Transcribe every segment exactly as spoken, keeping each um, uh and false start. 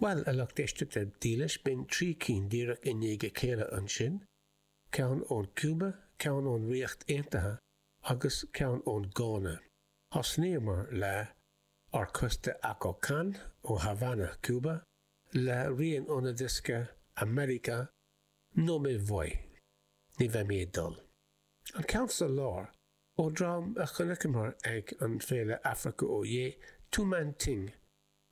Bhuel, a lucht éisteachta dílis, b'in trí cinn díreach i ndiaidh a chéile ansin, ceann ón Cúba, ceann ón Ríocht Aontaithe agus ceann ón Gána. Thosnaíomar le Orquesta Akokan ó Havana, Cuba, le rian óna diosca America No Me Voy. Ní bheidh mé ag dul. An ceann sa lár, ó dhream a chonaiceamar ag an Féile Africa Oh Yeah, Two Man Ting,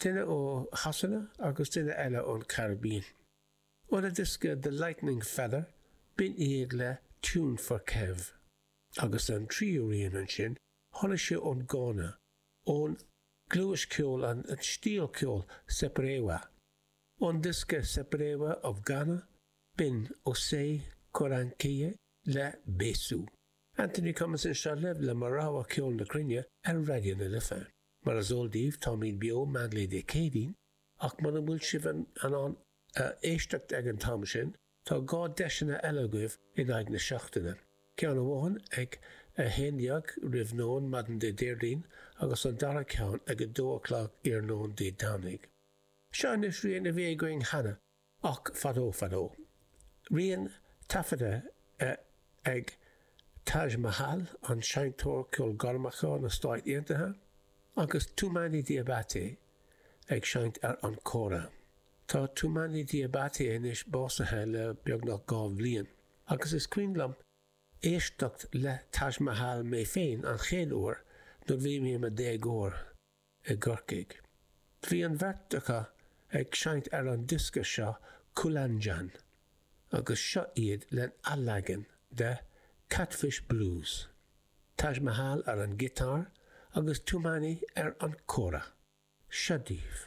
duine ó Shasana agus duine eile ón Caribbean. Óna diosca The Lightning Feather, b'in iad le Tune for Kev. Agus an tríú rian ansin, tháinig sé ón Gána, ón gluais ceoil an an stíl ceoil Seperewa. Ón diosca Seperewa of Ghana, b'in Osei Korankye le Besu. Anthony Cummins anseo libh le mo rogha ceol na cruinne ar Raidió na Life. Mar is eol daoibh táimid beo meánlae Dé Céadaoin, ach muna bhfuil sibh in ann éisteacht ag an t-am sin, tá dhá deiseanna eile agaibh in aghaidh na seachtaine. Ceann amháin ag a haon déag roimh nóin maidin Dé Déardaoin agus an dara ceann ag a dó a chlog iarnóin Dé Domhnaigh. Seo anois rian a bhí againn cheana ach fadó fadó. Rian taifeadta ag Taj Mahal, an seinnteoir ceolghairmeacha na Stáit Aontaithe, agus Toumani Diabaté ag seinnt ar an kora. Tá Toumani Diabaté anois básaithe le beagnach dhá bhliain, agus is cuimhin liom éisteacht le Taj Mahal mé féin an chéad uair nuair bhí mé i mo dhéagóir i gCorcaigh. Bhí an bheirt acu ag seinnt ar an diosca seo Kulanjan, agus seo iad len athleagan de Catfish Blues. Taj Mahal ar an giotár agus Toumani ar an kora. Seo daoibh.